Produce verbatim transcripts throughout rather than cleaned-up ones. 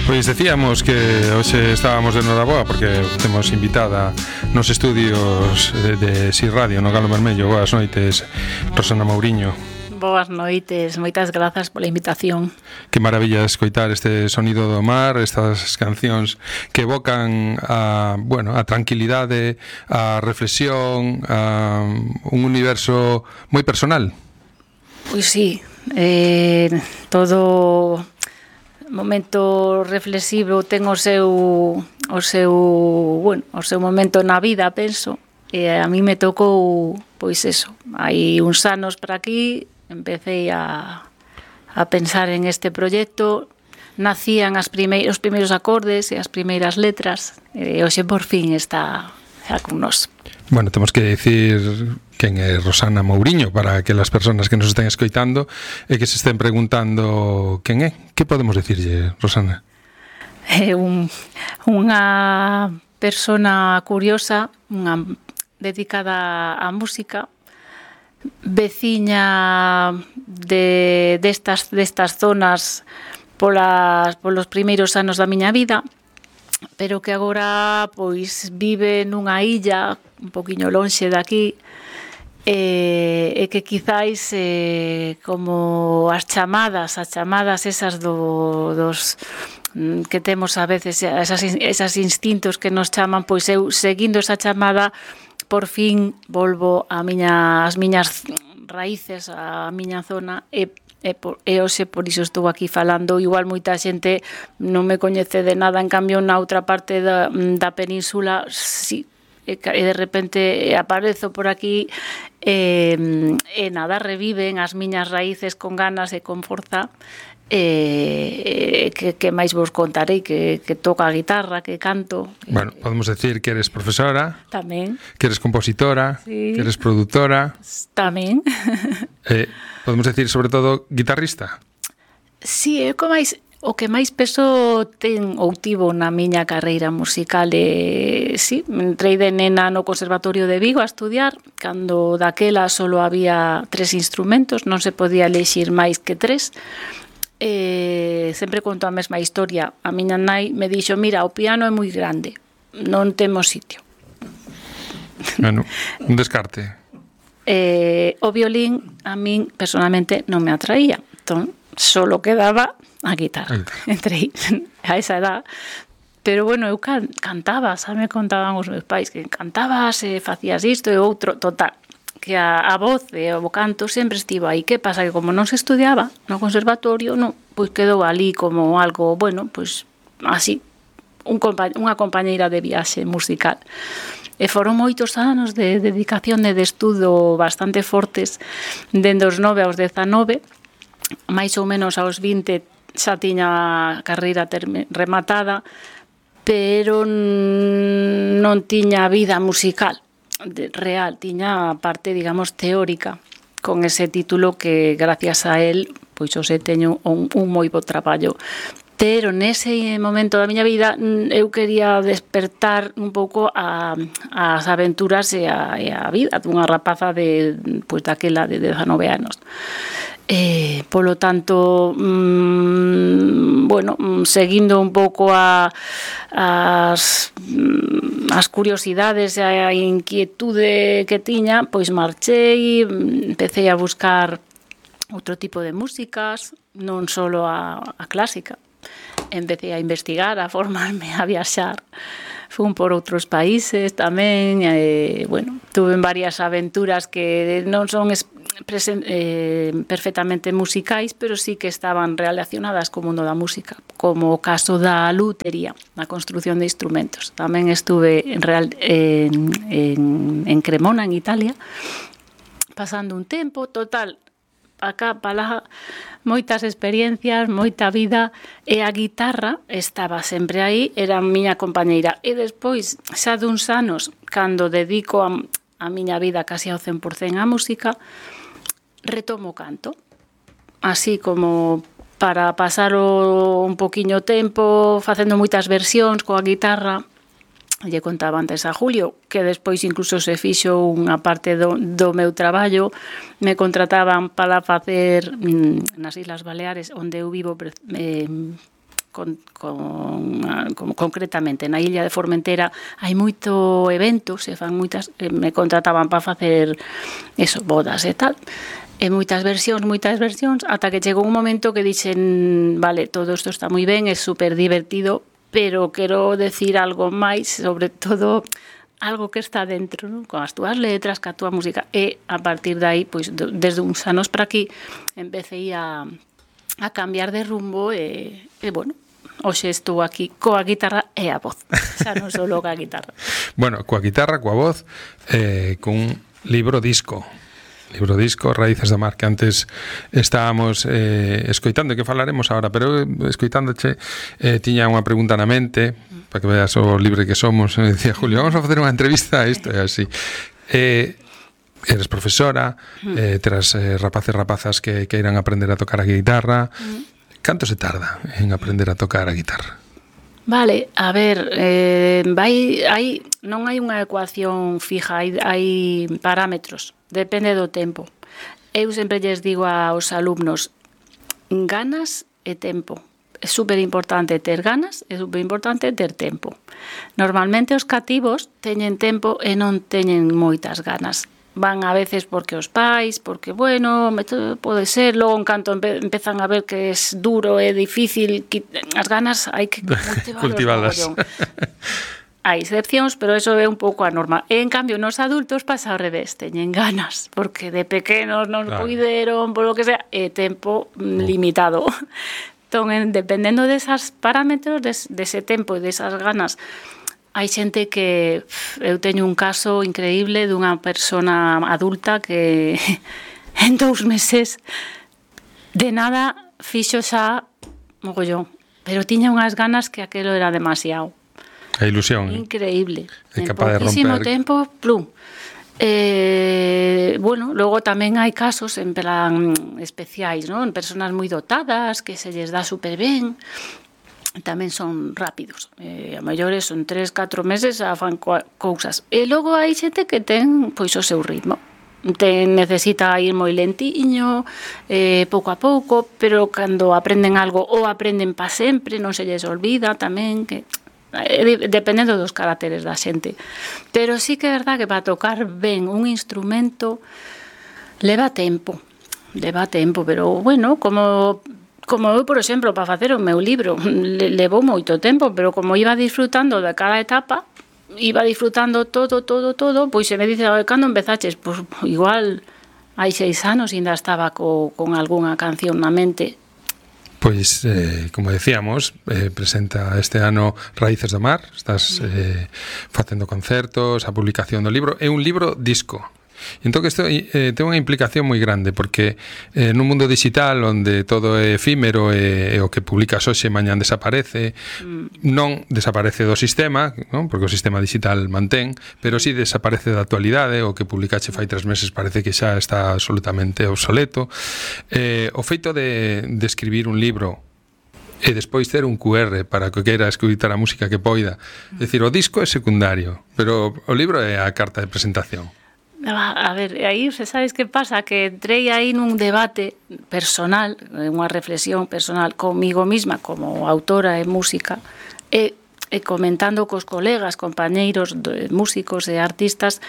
Pois decíamos que hoxe estábamos de noraboa porque temos invitada nos estudios de, de Si Radio no Galo Vermello. Boas noites, Rosana Mouriño. Boas noites, moitas grazas pola invitación. Que maravilla escoitar este sonido do mar, estas cancións que evocan a, bueno, a tranquilidade, a reflexión, a un universo moi personal. Pois sí, eh, todo momento reflexivo ten o seu o seu, bueno, o seu momento na vida, penso. E a mí me tocou, pois eso, hai uns anos para aquí, empecé a, a pensar en este proxecto, nacían as primeiros, os primeiros acordes e as primeiras letras, e hoxe por fin está xa con nós. Bueno, temos que decir quen é Rosana Mouriño para que as persoas que nos estén escoitando e que se estén preguntando quen é. Que podemos decirlle, Rosana? É un, unha persona curiosa, unha dedicada á música, veciña de destas destas zonas polas polos primeiros anos da miña vida, pero que agora pois vive nunha illa un poquiño lonxe daqui, e, e que quizáis eh, como as chamadas, as chamadas esas do, dos que temos a veces, esas, esas instintos que nos chaman, pois eu seguindo esa chamada por fin volvo a miña, as miñas raíces, a miña zona, e E, por, e hoxe por iso estou aquí falando. Igual moita xente non me coñece de nada, en cambio na outra parte da, da península sí, e, e de repente aparezo por aquí e, e nada, reviven as miñas raíces con ganas e con forza. E, e que, que máis vos contarei, que, que toco a guitarra, que canto. Bueno, podemos decir que eres profesora, tamén, que eres compositora, sí, que eres produtora, tamén. eh, podemos decir sobre todo guitarrista. Si, sí, é o máis o que máis peso ten ou tivo na miña carreira musical. E si, sí, entrei de nena no Conservatorio de Vigo a estudiar, cando daquela solo había tres instrumentos, non se podía elexir máis que tres. Eh, sempre conto a mesma historia. A miña nai me dixo: mira, o piano é moi grande, non temos sitio. Bueno, un descarte. Eh, o violín a min personalmente non me atraía, entón solo quedaba a guitarra. Entrei a esa edad, pero bueno, eu can, cantaba, xa me contaban os meus pais que cantabas e facías isto e outro, total, que a, a voz e o canto sempre estivo aí. Que pasa? Que como non se estudiaba no conservatorio, non, pois quedou ali como algo, bueno, pois así, un compa unha compañeira de viaxe musical. E foron moitos anos de dedicación e de estudo bastante fortes, dende os nove aos dezanove, máis ou menos aos vinte xa tiña a carreira rematada, pero non tiña vida musical real, tiña a parte, digamos, teórica, con ese título que gracias a él pois hoxe teño un, un moi bo traballo. Pero nese momento da miña vida eu quería despertar un pouco a, as aventuras e a, e a vida dunha rapaza de, pois, daquela de dezanove anos. Eh, polo tanto, mmm, bueno, seguindo un pouco a, as, as curiosidades e a inquietude que tiña, pois marchei, empecé a buscar outro tipo de músicas, non só a, a clásica. Empecé a investigar, a formarme, a viaxar. Fun por outros países tamén, e, bueno, tuve varias aventuras que non son eh, perfectamente musicais, pero sí que estaban relacionadas co mundo da música, como o caso da lutería, a construción de instrumentos. Tamén estuve en, real, en, en, en Cremona, en Italia, pasando un tempo, total, acá, para moitas experiencias, moita vida, e a guitarra estaba sempre aí, era a miña compañeira. E despois, xa duns anos, cando dedico a, a miña vida casi ao cen por cen á música, retomo o canto, así como para pasar o, un poquiño tempo, facendo moitas versións coa guitarra. Lle contaba antes a Julio que despois incluso se fixo unha parte do, do meu traballo, me contrataban para facer mm, nas Islas Baleares, onde eu vivo, eh, con, con, con, concretamente na illa de Formentera hai moito evento, se fan moitas, me contrataban para facer eso, bodas e tal, e moitas versións, moitas versións, ata que chegou un momento que dixen, vale, todo isto está moi ben, é super divertido, pero quero decir algo máis, sobre todo algo que está dentro, ¿no? Con as túas letras, ca túa música, e a partir de aí, pois, desde uns anos para aquí, empecé a, a cambiar de rumbo e, e bueno, hoxe estou aquí coa guitarra e a voz, xa non só coa guitarra. Bueno, coa guitarra, coa voz, eh, cun libro disco. Libro disco, Raíces do Mar, que antes estábamos eh, escoitando, que falaremos agora, pero escoitándoche eh, tiña unha pregunta na mente, para que veas o libre que somos, e dicía, Julio, vamos a facer unha entrevista a isto, e así. Eh, eres profesora, eh, terás eh, rapaces e rapazas que, que irán a aprender a tocar a guitarra. Canto se tarda en aprender a tocar a guitarra? Vale, a ver, eh, vai, hai, non hai unha ecuación fija, hai, hai parámetros, depende do tempo. Eu sempre lles digo aos alumnos, ganas e tempo. É super importante ter ganas, é super importante ter tempo. Normalmente os cativos teñen tempo e non teñen moitas ganas. Van a veces porque os pais, porque, bueno, pode ser, logo en canto empe, empezan a ver que é duro e difícil, as ganas hai que cultivalas. Hai excepcións, pero eso é un pouco a norma. E, en cambio, nos adultos pasa ao revés, teñen ganas, porque de pequenos non claro. puideron, por lo que sea, e tempo uh. limitado. Entón, dependendo desas parámetros, des, dese tempo e desas ganas, hai xente que eu teño un caso increíble dunha persona adulta que en dous meses de nada fixo xa mogollón, pero tiña unhas ganas que aquelo era demasiado. A ilusión. Increíble. É en capaz de pouquísimo romper. tempo, plum. Eh, bueno, logo tamén hai casos en plan especiais, ¿no? En personas moi dotadas que se lles dá super ben, tamén son rápidos, eh, a maiores son tres, catro meses a fan cousas, e logo hai xente que ten pois o seu ritmo, ten, necesita ir moi lentiño, eh, pouco a pouco, pero cando aprenden algo ou aprenden pa sempre, non se lles olvida tamén, que eh, dependendo dos caracteres da xente, pero sí que é verdad que para tocar ben un instrumento leva tempo, leva tempo, pero bueno, como Como eu, por exemplo, para facer o meu libro, levou moito tempo, pero como iba disfrutando de cada etapa, iba disfrutando todo, todo, todo, pois se me dice, cando empezaches? Pois igual hai seis anos ainda estaba co, con algunha canción na mente. Pois, eh, como decíamos, eh, presenta este ano Raíces do Mar, estás eh, facendo concertos, a publicación do libro, é un libro disco. Entón que isto eh, ten unha implicación moi grande, porque eh, nun mundo digital onde todo é efímero e, e o que publicas hoxe mañán desaparece, mm. non desaparece do sistema, non? Porque o sistema digital mantén, pero si sí desaparece da actualidade, o que publicache fai tres meses parece que xa está absolutamente obsoleto. Eh, o feito de, de escribir un libro e despois ter un cu erre para que queira escutar a música que poida, é dicir, o disco é secundario, pero o libro é a carta de presentación. A ver, aí, se sabes que pasa? Que entrei aí nun debate personal, unha reflexión personal comigo misma, como autora e música, e, e comentando cos colegas, compañeiros, de, músicos e artistas,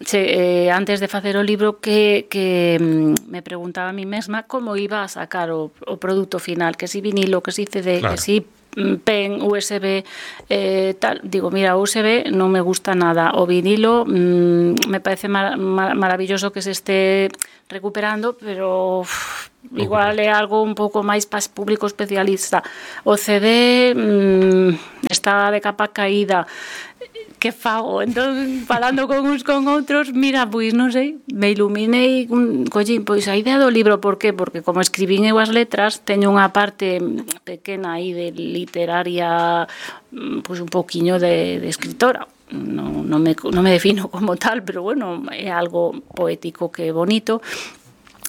se, eh, antes de facer o libro, que, que me preguntaba a mí mesma como iba a sacar o, o produto final, que si vinilo, que si ce de, claro. que si pen, U S B, eh, tal. Digo, mira, U S B non me gusta nada. O vinilo mmm, me parece mar, mar, maravilloso que se esté recuperando, pero uf, igual é algo un pouco máis para público especialista. O C D mmm, está de capa caída. Que fago? Entón, falando con uns con outros, mira, pois non sei, me iluminei, un, collín, pois a idea do libro, por qué? Porque como escribín eu as letras, teño unha parte pequena aí de literaria, pois un poquiño de, de escritora. Non, non, me, non me defino como tal, pero bueno, é algo poético que é bonito.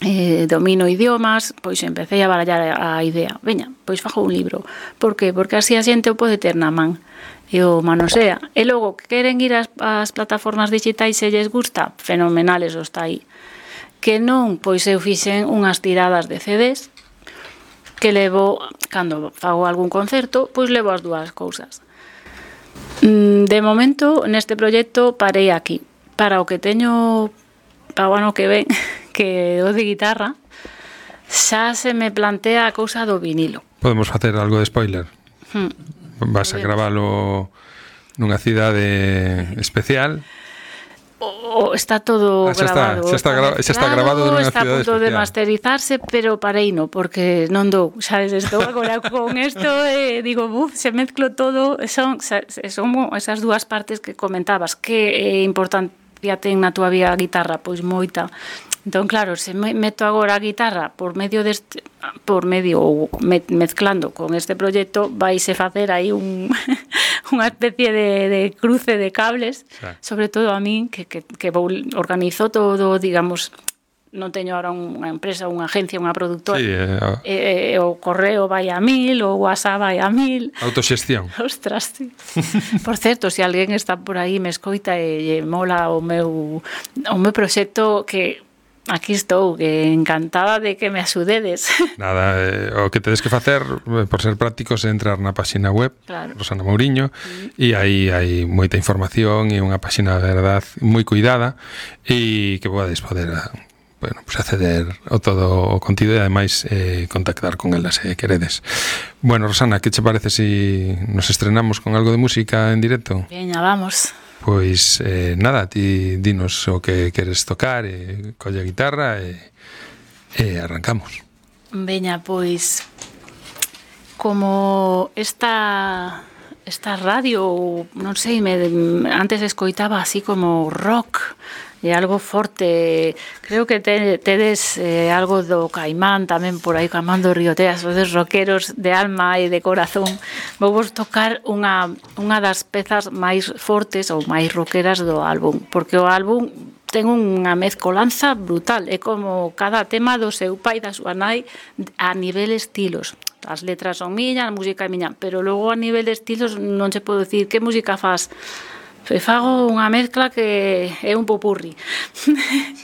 Eh, domino idiomas, pois empecé a barallar a idea. Veña, pois fago un libro. Por qué? Porque así a xente o pode ter na man. E o manosea. E logo, que queren ir ás, ás plataformas digitais se lles gusta, fenomenales os está aí. Que non, pois eu fixen unhas tiradas de C Ds que levo, cando fago algún concerto, pois levo as dúas cousas. De momento, neste proxecto parei aquí. Para o que teño para o ano que ven, que o de guitarra, xa se me plantea a cousa do vinilo. Podemos facer algo de spoiler? Hmm. Vas a gravalo nunha cidade especial? O, está todo ah, xa grabado. Está, xa, está gra- xa está grabado nunha está cidade especial. Está a punto de masterizarse, pero parei no, porque non dou, sabes, estou agora con isto e eh, digo, buf, se mezclo todo, son, son esas dúas partes que comentabas, que é importancia ten na túa vida a guitarra, pois moita. Entón, claro, se me meto agora a guitarra por medio deste, por medio ou me, mezclando con este proxecto, vaise facer aí un unha especie de, de cruce de cables, sí. Sobre todo a min, que, que, que vou, organizo todo, digamos, non teño ahora unha empresa, unha agencia, unha productora, sí, eh, eh, o correo vai a mil, o WhatsApp vai a mil. Autoxestión. Ostras, sí. Por certo, se alguén está por aí me escoita e, e mola o meu, o meu proxecto, que aquí estou, que encantada de que me axudedes. Nada, eh, o que tedes que facer, por ser prácticos, é entrar na página web, claro. Rosana Mouriño, e mm. aí hai moita información e unha página, de verdad, moi cuidada, e que podes poder, bueno, pues acceder ao todo o contido e ademais eh, contactar con elas se eh, queredes. Bueno, Rosana, que che parece se si nos estrenamos con algo de música en directo? Veña, vamos. Pois, eh, nada, ti dinos o que queres tocar, e colle a guitarra e, e arrancamos. Veña, pois, como esta, esta radio, non sei, me, antes escoitaba así como rock, e algo forte, creo que te, tedes eh, algo do Caimán tamén por aí, Caimán do Río Teas, os rockeros de alma e de corazón. Vou vos tocar unha, unha das pezas máis fortes ou máis rockeras do álbum, porque o álbum ten unha mezcolanza brutal, é como cada tema do seu pai e da súa nai a nivel estilos. As letras son miñas, a música é miña, pero logo a nivel de estilos non se pode dicir que música faz. E fago unha mezcla que é un popurri. Sí,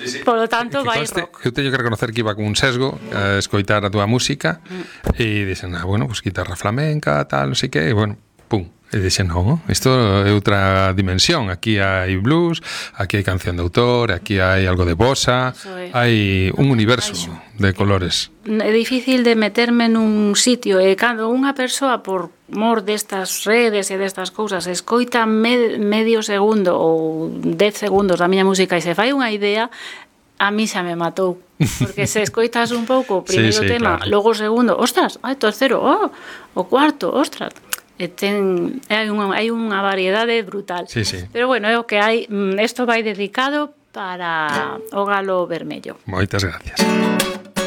sí. Por lo tanto, vai rock. Eu teño que reconocer que iba con un sesgo a escoitar a túa música mm. e dixen, ah, bueno, pues guitarra flamenca, tal, non sei que, e bueno, pum. E dixen, non, isto é outra dimensión. Aquí hai blues, aquí hai canción de autor, aquí hai algo de bossa, hai un universo de colores. É difícil de meterme nun sitio, e cando unha persoa, por mor destas redes e destas cousas, escoita med, medio segundo ou dez segundos da miña música e se fai unha idea, a mí xa me matou. Porque se escoitas un pouco o primeiro sí, sí, tema, claro. Logo o segundo, ostras, hai terceiro, oh, o cuarto, ostras. E ten, hai, unha, hai unha variedade brutal. Sí, sí. Pero bueno, é o que hai. Isto vai dedicado para o Galo Vermello. Moitas gracias.